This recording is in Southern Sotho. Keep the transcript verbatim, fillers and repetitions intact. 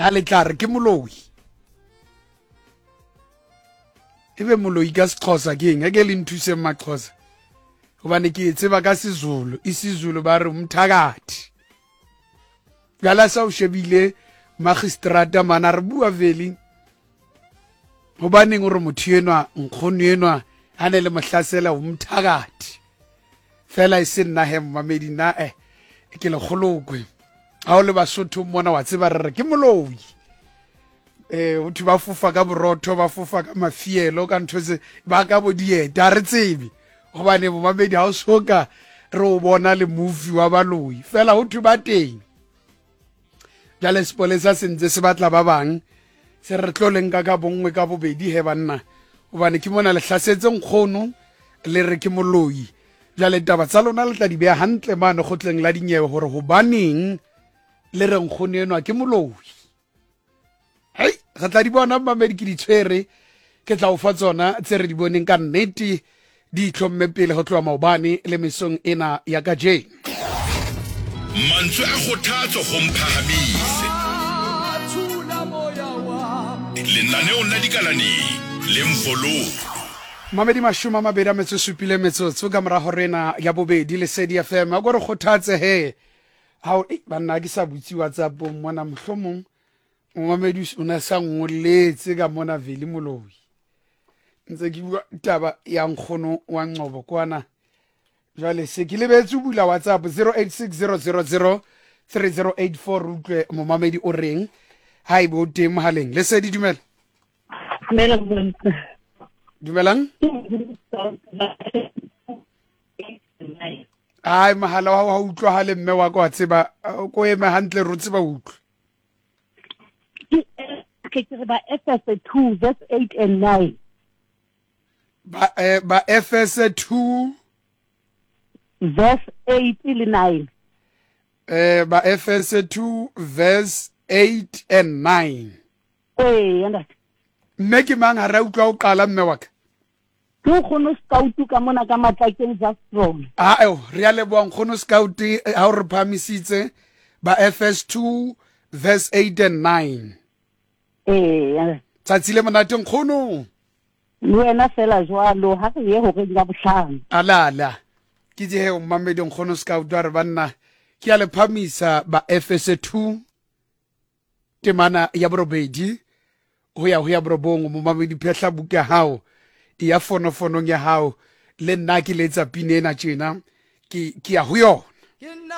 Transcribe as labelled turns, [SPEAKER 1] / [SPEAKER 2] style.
[SPEAKER 1] Ha le tla re ke moloi. Ebe moloi ka Sexhosa ke eng? Ake le nthuseng Maxhosa. Hobane ke e tseba ka Sezulu. IsiZulu ba re umthakathi. Jwale sa o shebile magistrata mana re bua vele. Hobaneng o re motho enwa nkgono enwa ha ne le mohlasela umthakathi. Fela e se nna he mmamedi nna eh ke le kgolokwe. Ha o le Basotho mona wa tseba re re ke moloi. Eh ho thwe ba fofa ka borotho, ba fofa ka mafielo, ka ntho tse ba ka bo dieta, ha re tsebe. Hobane momamedi ha o soka re o bona le movie wa baloi. Fela ho thwe ba teng. Jwale sepolesa se ntse se batla ba bang, se re tlo le nka ka bonngwe ka bobedi he banna. Hobane ke mona le hlasetse nkgono le re ke moloi. Jwale taba tsa lona le tla di beha hantle mane kgotleng la dinyewe hore hobaneng le re nkgono enwa ke moloi. Hei, re tla di bona mmamedi ke di tshwere, ke tla o fa tsona tse re di boneng ka nnete di itlhomme pele ho tloha maobane le mesong ena ya kajeno.
[SPEAKER 2] Mantswe a kgothatso ho Mphahamise. Lenaneong la dikalaneng le Mvololo.
[SPEAKER 1] Mamedi mashome a mabedi a metso e supile metsotso ka mora hora ena ya bobedi Lesedi F M. A ko re kgothatse he. Ha o, ei, banna ke sa butse WhatsApp-ong mona, mohlomong momamedi o ne sa ngolletse ka mona Veli Moloi. Ntse ke bua taba ya nkgono wa Ngcobo kwana. Jwale se ke lebetse ho bula WhatsApp zero eight six zero zero zero three zero eight four, re utlwe momamedi o reng ha ebe o teng mohaleng. Lesedi, dumela.
[SPEAKER 3] Dumela, dumela.
[SPEAKER 1] Dumelang. Ai, mohala wa hao ha o utlwahale mme wa ka, wa tseba, ko eme hantle re o tseba utlwe.
[SPEAKER 3] Ke ke re ba Efese two verse eight and nine.
[SPEAKER 1] Ba, eh, ba Efese two
[SPEAKER 3] verse eight le nine.
[SPEAKER 1] Eh, ba Efese two verse eight and nine.
[SPEAKER 3] Eh, ntate.
[SPEAKER 1] Mme ke mang ha re utlwa o qala mme wa ka?
[SPEAKER 3] Ke nkgono Scout ka mona ka Matlakeng Zastron.
[SPEAKER 1] Ah, eo, re a leboha nkgono Scout, eh, ha o re phahamisitse ba Efese two verse eight and nine.
[SPEAKER 3] Eh,
[SPEAKER 1] Tsatsi le monate nkgono.
[SPEAKER 3] Le wena fela jwalo, ha re ye horeng ya bohlano.
[SPEAKER 1] Ala, ala. Ke je he o mmamedi nkgono Scout a re banna ke a le phamisa ba Efese two temana ya borobedi ho ya ho ya borobong. Momamedi phehla buka ya hao ya fonofonong ya hao, le nna ke letsa pina ena tjena, ke, ke ya ho yona.